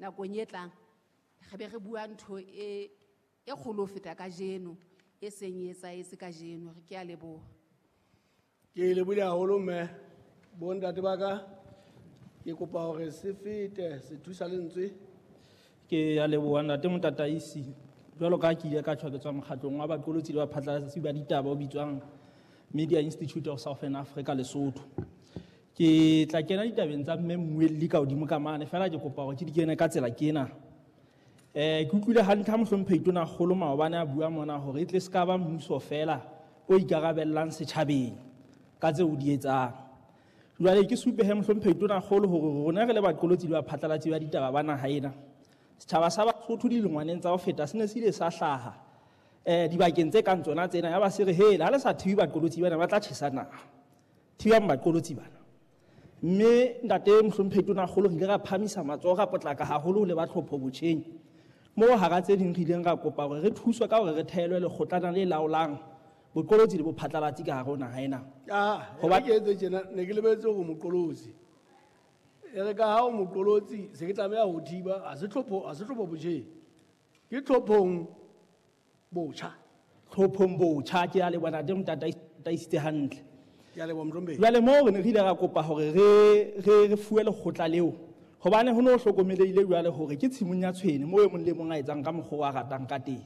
Nakong e tlang re be re bua ntho e e kgolo ho feta kajeno e seng e etsahetse kajeno. Re ke a leboha. Ke lebohile haholo mme. Bontate ba ka, ke kopa hore se fete se thusa lentswe. Ke a leboha ntate Motataisi. Jwalo ka ha ke ile ka tjho, ke tswa mokgatlong wa baqolotsi le baphatlalatsi ba ditaba o bitswang Media Institute of Southern Africa Lesotho. Ke tla kena ditabeng tsa mme mmuelli ka hodimo ka mane, fela ke kopa hore ke di kene ka tsela kena. Ke utlwile hantle ha mohlomphehi Tonakgolo maobane a bua mona hore e tle se ka ba mmuso fela o ikarabellang setjhabeng ka tseo o di etsang. Jwale ke supe he mohlomphehi Tonakgolo hore rona re le baqolotsi le baphatlalatsi ba ditaba ba naha ena, setjhaba sa Basotho dilengwaneng tsa ho feta se ne se ile sa hlaha dibakeng tse kang tsona tsena, ya ba se re hele ha le sa thibe baqolotsi bana ba tla tjhesa naha, thibang baqolotsi bana. Mme ntate mohlomphehi Tonakgolo re ile ra phamisa matsoho ra potlaka haholo ho leba tlhopho botjheng, moo hara tse ding re ileng ra kopa hore re thuswe ka hore re thehelwe lekgotlana le laolang boqolotsi le bophatlalatsi ka hare ho naha ena. Ah, Hoba- ke etse tjena, ne ke lebetse hore moqolotsi. E re ka ha o moqolotsi, se ke tlameha ho thiba, ha se tlhopho, ha se tlhopho botjheng. Ke tlhophong botjha. Tlhophong botjha, ke a leboha ntate Motataisitse hantle. Ke a leboha mohlomphehi. Jwale moo re ne re ile ra kopa hore re fuwe lekgotla leo, hobane ho no hlokomelehile jwale hore ke tshimong ya tshwene moo e mong le mong a etsang ka mokgwa o a ratang ka teng.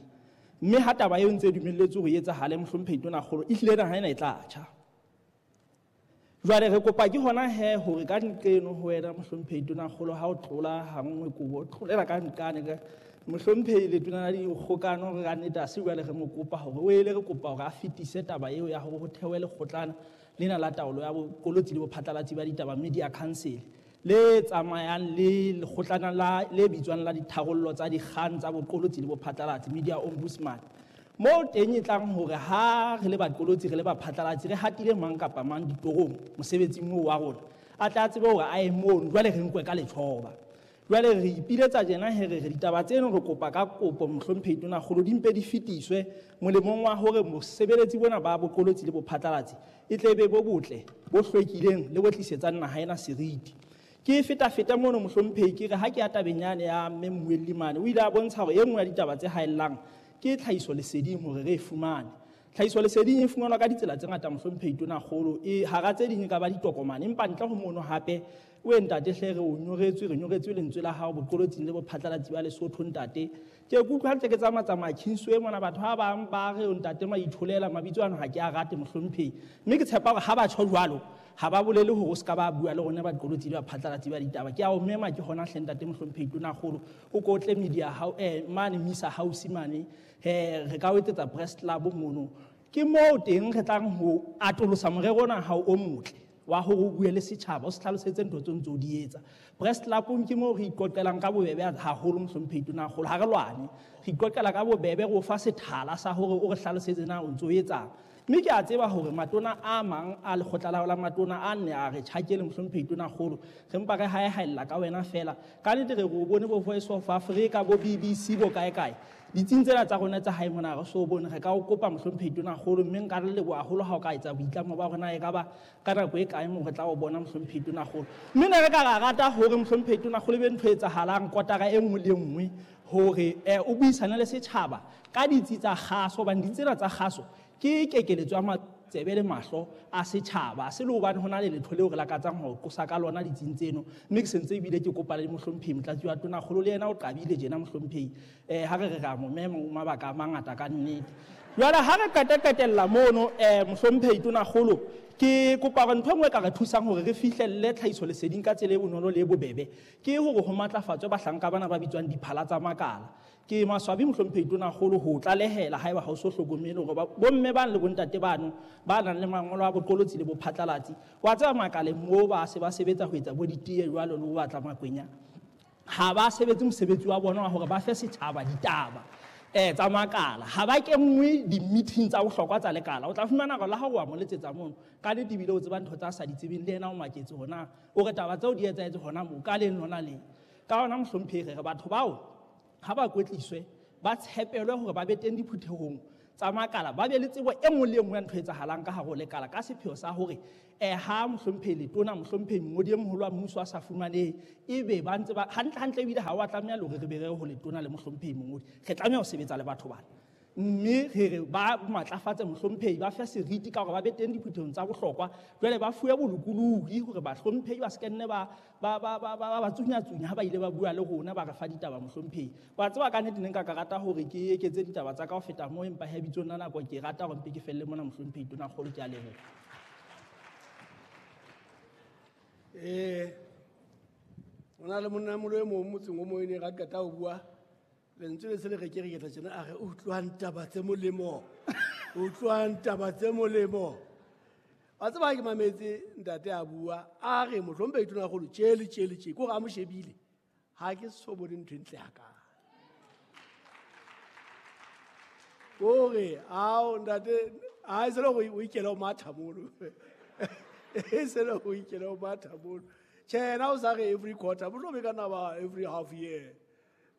Mme ha taba eo ntse e dumelletswe hore e etsahale mohlomphehi Tonakgolo, ehlile naha ena e tla tjha. Jwale re kopa ke hona he hore ka nqeno ho wena mohlomphehi Tonakgolo, ha o tlola ha nngwe kobo, o tlolela ka nqane ka mohlomphehi letona la dikgokano, re ka nnete ha se jwale re mo kopa hore o ele, re kopa hore a fetise taba eo ya hore ho thewe lekgotlana lena la taolo ya boqolotsi le bophatlalatsi ba ditaba, Media Council, le tsamayang le lekgotlana la le bitswang la ditharollo tsa dikgang tsa boqolotsi le bophatlalatsi, Media Ombudsman. Moo teng e tlang hore ha re le baqolotsi re le baphatlalatsi re hatile mang kapa mang ditorong mosebetsing oo wa rona, a tla tsebe hore a ye mono, jwale re nkwe ka letjhoba. Jwale re ipiletsa tjena he re re ditaba tseno re kopa ka kopo mohlomphehi Tonakgolo di mpe di fetiswe molemong wa hore bosebeletsi bona ba boqolotsi le bophatlalatsi e tle be bo botle, bo hlwekileng le bo tlisetsang naha ena seriti. Ke feta-feta mono mohlomphehi ke re ha ke ya tabeng yane ya mme mmuelli mane, o ile a bontsha hore e nngwe ya ditaba tse haellang ke tlhahiso leseding hore re e fumane. Tlhahiso leseding e fumanwa ka ditsela tse ngata mohlomphehi Tonakgolo, e hara tse ding e ka ba ditokomane, empa ntle ho mono hape o e ntate hle re o nyoretswe, re nyoretswe lentswe la hao boqolotsing le bophatlalatsi ba Lesotho ntate. Ke kutlwa ntse ke tsamaya-tsamaya Kingsway mona, batho ba bang ba re ntate Maitholela, mabitso ano ha ke a rate mohlomphehi. Mme ke tshepa hore ha ba tjho jwalo, ha ba bolele hore o se ka ba bua le rona baqolotsi le baphatlalatsi ba ditaba. Ke a o mema ke hona hle ntate mohlomphehi Tonakgolo, o ko tle media mane Misa House mane, re ka o etsetsa press club mono. Ke moo teng re tlang ho atolosa morero ona hao o motle wa hore o bue le setjhaba, o se hlalosetse ntho tseo ntse o di etsa. Press club-ong ke moo re iqoqelang ka bobebe haholo mohlomphehi Tonakgolo, ha re lwane, re iqoqela ka bobebe, re o fa sethala sa hore o re hlalosetse na o ntse o etsang. Mme ke a tseba hore matona a mang a lekgotla la matona a nne a re tjhakele mohlomphehi Tonakgolo, re mpa re haehaella ka wena fela. Ka nnete re o bone bo Voice of Africa, bo BBC, bo kae kae. Ditsing tsena tsa rona tsa hae mona re so bone, re ka o kopa mohlomphehi Tonakgolo, mme nka re leboha haholo ha o ka etsa boitlamo ba rona e ka ba ka nako e kae moo re tla o bona mohlomphehi Tonakgolo. Mme ne re ka ra rata hore mohlomphehi Tonakgolo e be ntho e etsahalang kotara e nngwe le nngwe hore o buisane le setjhaba ka ditsi tsa kgaso, hobane ditsi tsena tsa kgaso ke kekeletso ya matsebe le mahlo a setjhaba. Se le hobane ho na le letho leo re lakatsang ho qosa ka lona ditsing tseno. Mme ke sentse ebile ke kopa le mohlomphehi Motlatsi wa Tonakgolo, le yena o qabile tjena mohlomphehi. Ha re re ra mo mema, o mabaka a mangata ka nnete. Jwale ha re qeta-qetella mono, mohlomphehi Tonakgolo, ke kopa hore ntho e nngwe e ka re thusang hore re fihlelle tlhahiso leseding ka tsela e bonolo le e bobebe ke hore ho matlafatswe bahlanka bana ba bitswang diphala tsa makala. Ke maswabi mohlomphehi Tonakgolo ho tlalehela haeba ha o so hlokomele hore bomme bang le bontate bano ba nang le mangolo a boqolotsi le bophatlalatsi, wa tseba makaleng moo ba se ba sebetsa ho etsa bo ditee jwalo le ho batla makwenya, ha ba sebetse mosebetsi wa bona wa hore ba fe setjhaba ditaba tsa makala. Ha ba kenngwe di-meeting tsa bohlokwa tsa lekala. O tla fumana hore le ha o wa mo letsetsa mono, ka nnete ebile o tseba ntho tsa sa di tsebeng, le yena o maketse hore na o re taba tseo di etsahetse hona moo ka leng lona leng. Ka hona mohlomphehi re re batho bao ha ba kwetliswe, ba tshepelwe hore ba be teng diphuthehong tsa makala ba be le tsebo e nngwe le e nngwe ya ntho e etsahalang ka hare ho lekala ka sepheo sa hore ha mohlomphehi letona, mohlomphehi mongodi e moholo wa mmuso a sa fumanehe, ebe ba ntse ba hantle hantle ebile ha wa tlameha le hore re be re ho letona le mohlomphehi mongodi. Re tlameha ho sebetsa le batho bana. Mme re re ba matlafatse mohlomphehi, ba fe seriti ka hore ba be teng diphuthehong tsa bohlokwa. Jwale ba fuwe bolokolohi hore bahlomphehi ba se ke nne ba tsunyatsunya ha ba ile ba bua le rona, ba re fa ditaba mohlomphehi. Wa tseba ka nnete ne nka ka rata hore ke eketse ditaba tsa ka ho feta moo, empa he bitsong la nako ke rata hore mpe ke felle mona mohlomphehi Tonakgolo, ke a leboha. Ho na le monna molo e mong motseng o mong e ne ra qeta ho bua. Lentswe le se le re ke re ketla tjena, a re, utlwang taba tse molemo. Utlwang taba tse molemo. Wa tseba ha ke mametse ntate a bua, a re mohlomphehi Tonakgolo tje le tje le tje, ke hore a mo shebile. Ha ke so bone ntho e ntle hakana. Kore, ao, ntate, ha e se le hore o ikele ho matha mono. E se le hore o ikele ho matha mono. Tjhe, yena o sa re every quarter, mohlomong e ka nna ba every half year.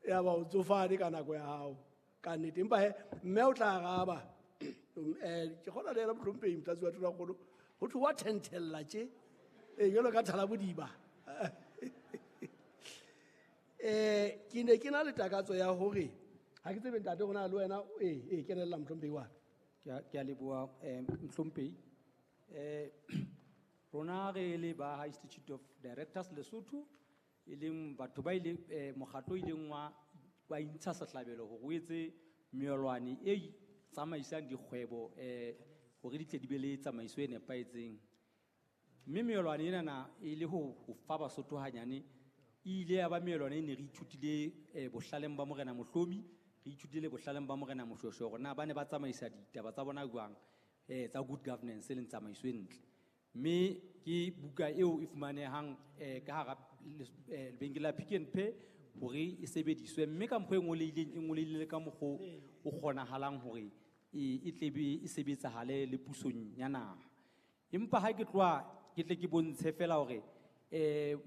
Ya ba o tsofane ka nako ya hao, ka nnete. Empa he, mme o tla araba. Ke kgona le yena mohlomphehi Motlatsi wa Tonakgolo, ho thwe wa thenthella tje. Jwalo ka thalabodiba. Ke ne ke na le takatso ya hore, ha ke tsebe ntate hore na le wena, kenella mohlomphehi wa ka. Ke a leboha, mohlomphehi. Rona re le ba Institute of Directors Lesotho, e leng batho ba ile, mokgatlo o ileng wa intsha sehlabelo hore o etse meolwane e tsamaisang dikgwebo, hore di tle di be le tsamaiso e nepahetseng. Mme meolwane enana e le ho fa Basotho hanyane, e ile ya ba meolwane e ne re ithutile, bohlaleng ba Morena Mohlomi, re ithutile bohlaleng ba Morena Moshoeshoe hore na ba ne ba tsamaisa ditaba tsa bona jwang, tsa good governance e leng tsamaiso e ntle. Mme ke buka eo e fumanehang, ka hara lebenkele la Pick n Pay hore e sebediswe, mme ka mokgwa e ngolehileng, e ngolehile ka mokgwa o kgonahalang hore e tle be e sebetsahale le pusong ya naha. Empa ha ke tloha ke tle ke bontshe fela hore,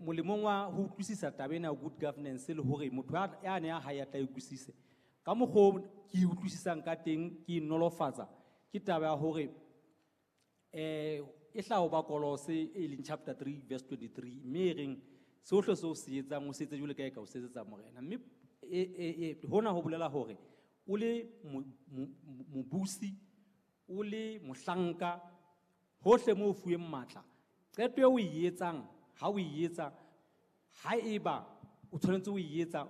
molemong wa ho utlwisisa taba ena ya good governance le hore motho ya ne a hae a tla e utlwisise. Ka mokgwa o ke e utlwisisang ka teng, ke e nolofatsa, ke taba ya hore, e hlaha ho ba Kolose e leng chapter 3 verse 23, mme e reng sohle seo o se etsang o se etse jwalo ka e ka o se etsetsa Morena. Mme hona ho bolela hore o le mobusi, o le mohlanka, hohle moo o fuweng matla, qeto eo o e etsang, ha o e etsa, haeba o tshwanetse o e etsa,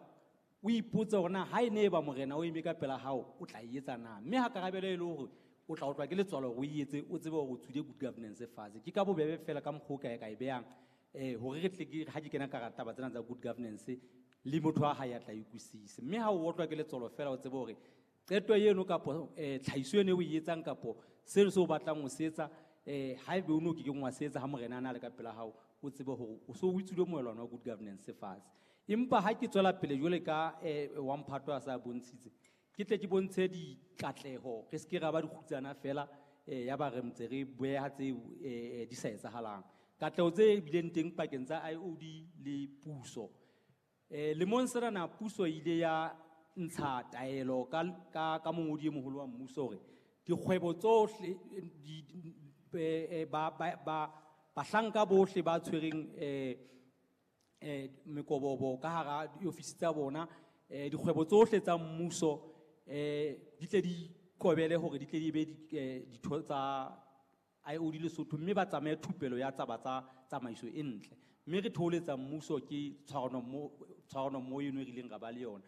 o ipotse hore na ha e ne e ba Morena o eme ka pela hao, o tla e etsa na? Mme ha karabelo e le hore o tla otlwa ke letswalo hore o e etse, o tsebe hore o tswile good governance fatshe. Ke ka bobebe fela ka mokgwa o ka e behang, hore re tle ke, ha ke kena ka hara taba tsena tsa good governance, le motho wa hae a tla utlwisise. Mme ha o otlwa ke letswalo fela, o tsebe hore qeto eno kapo, tlhahiso eno e o e etsang kapo seno se o batlang ho se etsa, haebe o no kekeng wa se etsa ha Morena a na le ka pela hao, o tsebe hore o so o tswile moelwana wa good governance fatshe. Empa ha ke tswela pele jwale ka, wa mphato a sa bontshitse, ke tle ke bontshe dikatleho, re se ke ra ba dikgutsana fela, ya ba re ntse re boeha tse, di sa etsahalang. Katleho tse bileng teng pakeng tsa IOD le puso. Lemong sena na puso e ile ya ntsha taelo ka mongodi e moholo wa mmuso hore dikgwebo tsohle, bahlanka bohle ba tshwereng, mekobobo ka hara diofisi tsa bona, dikgwebo tsohle tsa mmuso, di tle di kobele hore di tle di be ditho tsa IOD Lesotho, mme ba tsamaye thupelo ya taba tsa tsamaiso e ntle. Mme re thoholetsa mmuso ke tshwarano mmoho eno e re ileng ra ba le yona.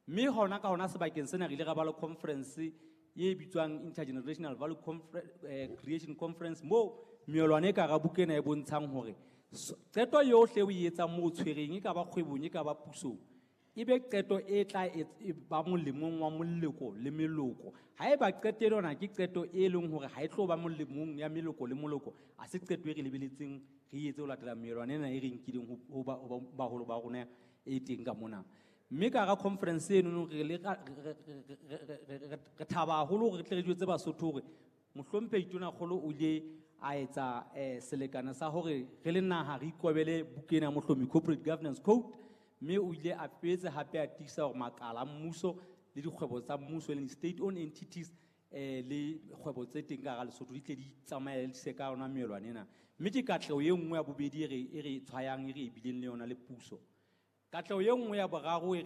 Mme hona ka hona sebakeng sena re ile ra ba le conference e bitswang Intergenerational Value Creation Conference, moo meolwane e ka hara buka ena e bontshang hore qeto yohle o e etsang moo o tshwereng, e ka ba kgwebong, e ka ba pusong, e be qeto e tla e ba molemong wa moloko le meloko. Haeba qeto ena ke qeto e leng hore ha e tlo ba molemong ya meloko le moloko, ha se qeto e re lebeletseng re etse ho latela meelwana ena e re nkileng ho baholo ba rona e teng ka mona. Mme ka hara conference eno re le ra, re thaba haholo hore re tle re jwetse Basotho hore mohlomphehi Tonakgolo o ile a etsa, selekane sa hore re le naha re ikobele buka ena ya Mohlomi Corporate Governance Code, mme o ile a boetse hape a tiisa hore makala a mmuso le dikgwebo tsa mmuso, e leng state-owned entities, le kgwebo tse teng ka hara Lesotho di tle di tsamaise ka yona melwane ena. Mme ke katleho e nngwe ya bobedi e re tshwayang, e re e bileng le yona le puso. Katleho e nngwe ya boraro e